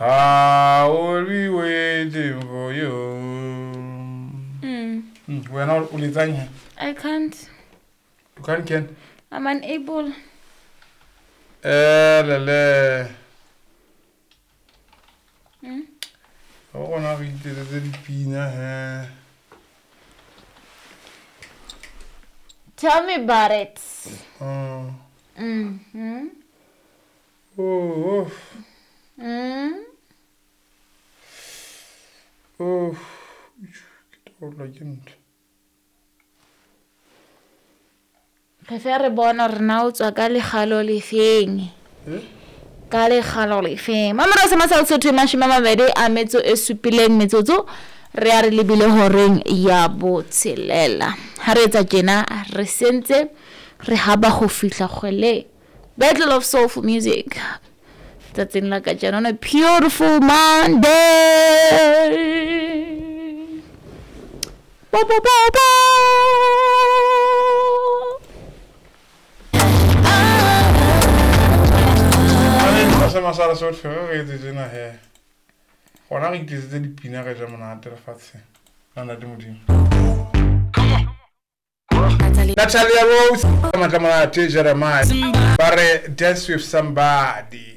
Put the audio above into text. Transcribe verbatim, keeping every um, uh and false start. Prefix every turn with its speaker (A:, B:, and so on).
A: I will be waiting for you.
B: Mm.
A: Mm, wena o letsang he?
B: I can't.
A: You can't can.
B: I'm unable.
A: Eh lele.
B: Mm.
A: O gona re itetsetse dipina he.
B: Tell me about it.
A: Mm.
B: Mm-hmm.
A: Oh, oh.
B: Mm.
A: Oh. Ke taolwa ke ntho.
B: Re fe re bona hore na o tswa ka lekgalo lefeng.
A: Eh?
B: Ka lekgalo lefeng. Mamora se masal sotho mashome a mabedi a metso e supileng metsotso re a re lebile horeng ya botshelela. Ha re etsa tjena re sentse re haba ho fihla kgwele. Battle of Soulful Music. Tsatsing la kajeno on a beautiful Monday. Bo bo bo bo.
A: Se masala sotho re etse tjena he. Gona re itetsetse dipina re ja monate lefatsheng. La ntate Modimo. Natalia Rose, Matla Monate, Jeremiah. Ba re dance with somebody.